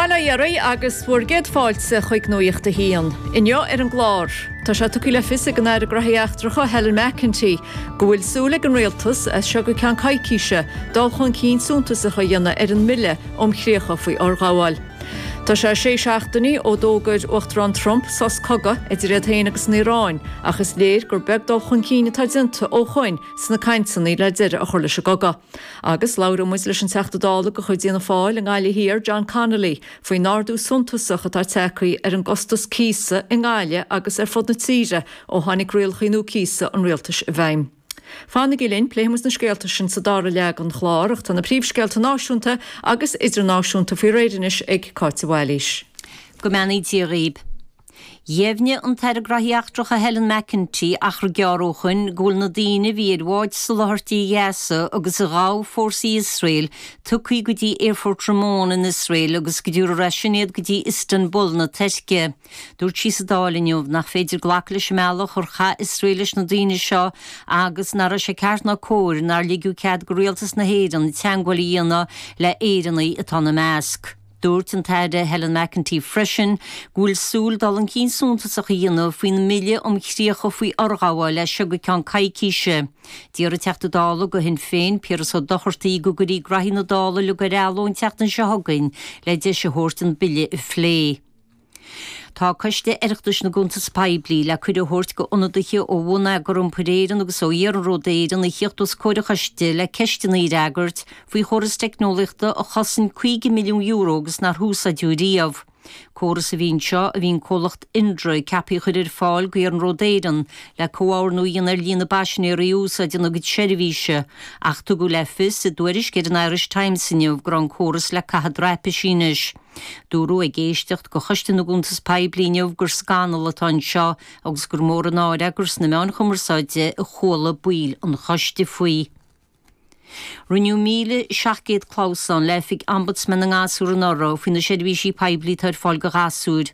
Bail ó Dhia oraibh agus bhur gcéad fáilte chuig Nuacht a hAon. Inniu ar an gclár, tá sé tugtha le fios ag an Aire Gnóthaí Eachtracha Helen McEntee go bhfuil súil ag an Rialtas, as seo go ceann coicíse, dul chun cinn suntasach a dhéanamh ar an mBille um Chríocha faoi Fhorghabháil. Tá sé sé seachtainí ó d'fhógair Uachtarán Trump sos cogaidh idir iad féin agus an Iaráin ach is léir gur beag dul chun cinn atá déanta ó shoin sna cainteanna le deireadh a chur leis an gcogadh. Agus labhróidh muid leis an Teachta Dála de chuid Fhianna Fáil i nGaillimh Thiar, John Connolly, faoin ardú suntasach atá tagtha ar an gcostas cíosa i nGaillimh agus ar fud na tíre ó tháinig rialacha nua cíosa an rialtais i bhfeidhm. Fanaigí linn, pléifidh muid na scéalta sin sa dara leath den chlár, ach tá na príomhscéalta náisiúnta agus idirnáisiúnta faoi réir anois ag Cáit de Bhailís. Go mbeannaí Dia dhaoib. Dheimhnigh an tAire Graithí Eachtracha Helen McEntee achar gearr ó shoin go bhfuil na daoine a bhí ar bhád soláthairtí Ghaza agus a ghabh fórsaí Iosrael tugtha go dtí Aerfort Ramon in Iosrael agus go dtabharfar as sin iad go dtí Istanbul na Tuirce. Dúirt sí sa Dáil inniu nach féidir glacadh leis an mbealach ar chaith Iosrael leis na daoine seo agus nach raibh sé ceart ná cóir nár ligeadh cead go Rialtas na hÉireann teagmháil a dhéanamh le hÉireannaigh atá ina measc. Dúirt an tAire Helen McEntee freisin go bhfuil súil dul chun cinn suntasach a dhéanamh faoin mBille um Chríocha faoi Fhorghabháil as seo go ceann coicíse. D'iarr an Teachta Dála do Shinn Féin, Piaras Ó Dochartaigh, go gcuirfí graithí na Dála uilig ar athló an tseachtain seo chugainn le deis a thabhairt an bille a phlé. Tá Coiste Oireachtais na gCuntas Poiblí le cuireadh a thabhairt go ionadaithe ó Bhonneagar Iompair Éireann agus ó Iarnród Éireann a thíocht os comhair an choiste le ceisteanna a fhreagairt faoi chóras teicneolaíochta a chosain €50 milliún agus nár húsáideadh riamh. Córas a bhí anseo a bhí an comhlacht Indra ceaptha a chur ar fáil go Iarnród Éireann le comhordú a dhéanamh ar líon na bpaisinéirí a úsáideann a gcuid seirbhíse ach tugadh le fios i dtuairisc ar an Irish Times inniu go raibh an córas le caitheamh i dtraipisí anois. Dúradh ag éisteacht go Choiste na gCuntas Poiblí inniu gur scannal atá anseo agus gur mór an náire gur sna meáin chumarsáide a chuala baill an choiste faoi. Rinneadh 1,700 clamhsán le hOifig Ombudsman na nGasúr anuraidh faoi na seirbhísí poiblí atá ar fáil go ghasúir.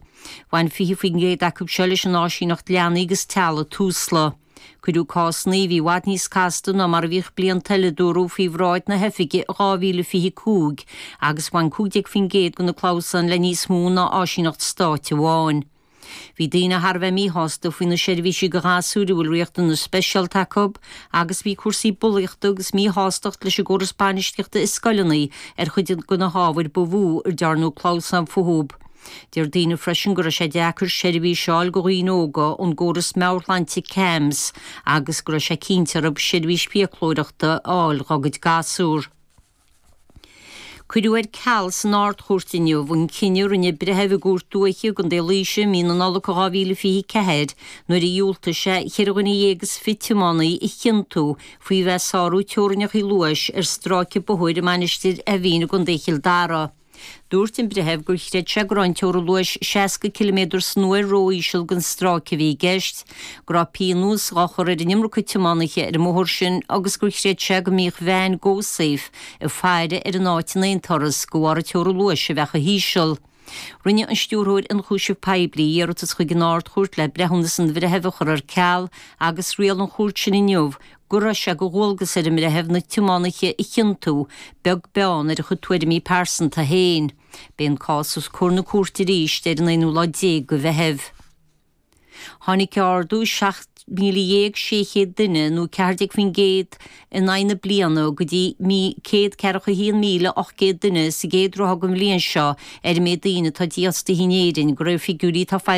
Bhain 20% acu seo leis an áisíneacht leanaí agus teaghlaigh Tusla. Cuireadh cásanna a bhí i bhfad níos casta ná mar a bhíodh blianta eile, dúradh, faoi bhráid na hoifige i 2025 agus bhain 15% de na clamhsáin le níos mó ná áisíneacht stáit amháin. Bhí daoine thar a bheith míshásta faoi na seirbhísí do ghasúir a bhfuil riachtanais speisialta acu agus bhí cúrsaí bulaíochta agus míshástacht leis an gcóras bainistíochta i scoileanna ar chuid de na hábhair ba mhó a ndearnadh clamhsán fúthu. Deir daoine freisin go raibh sé deacair seirbhís a fháil go dhaoine óga ón gcóras meabhairshláinte CAMHS agus go raibh sé cinnte orthu seirbhís fiaclóireachta a fháil dhá gcuid gasúr. Cuireadh ar ceal san Ard-Chúirt inniu an cinneadh a rinne breitheamh i gCúirt Dúiche i gContae Laoise i mí na Nollag 2024 nuair a dhiúltaigh sé cheithre dhuine dhéag is fiche tiománaí a chiontú faoi bheith ag sárú teorainneacha luais ar stráice bóthair i Mainistir Eimhín i gContae Chill Dara. Dúirt an breitheamh gur chreid sé go raibh an teorainn luais 60 ciliméadar san uair ró-íseal don stráice a bhí i gceist, go raibh pionós dhá chur ar an iomarca tiománaithe ar an mbóthar sin agus gur chreid sé go mbíodh veain GoSafe ag faire ar an áit in aon turas de bharr an teorainn luais a bheith chomh híseal. Rinne an Stiúrthóir Ionchúiseamh Poiblí iarratas chuig an Ard-Chúirt le breithiúnas an bhreithimh a chur ar ceal agus riail an chúirt sin inniu go raibh sé de dhualgas ar an mbreitheamh na tiománaithe a chiontú, beag beann ar a chuid tuairimí pearsanta féin. Beidh an cás os comhair na cúirte arís ar an aonú lá déag de Mheitheamh. Tháinig ardú 17,600 duine, nó 14%, in aghaidh na bliana go dtí 141,800 duine sa gcéad ráithe den bhliain seo ar an méid daoine atá dífhostaithe in Éirinn, de réir figiúirí atá foilsithe.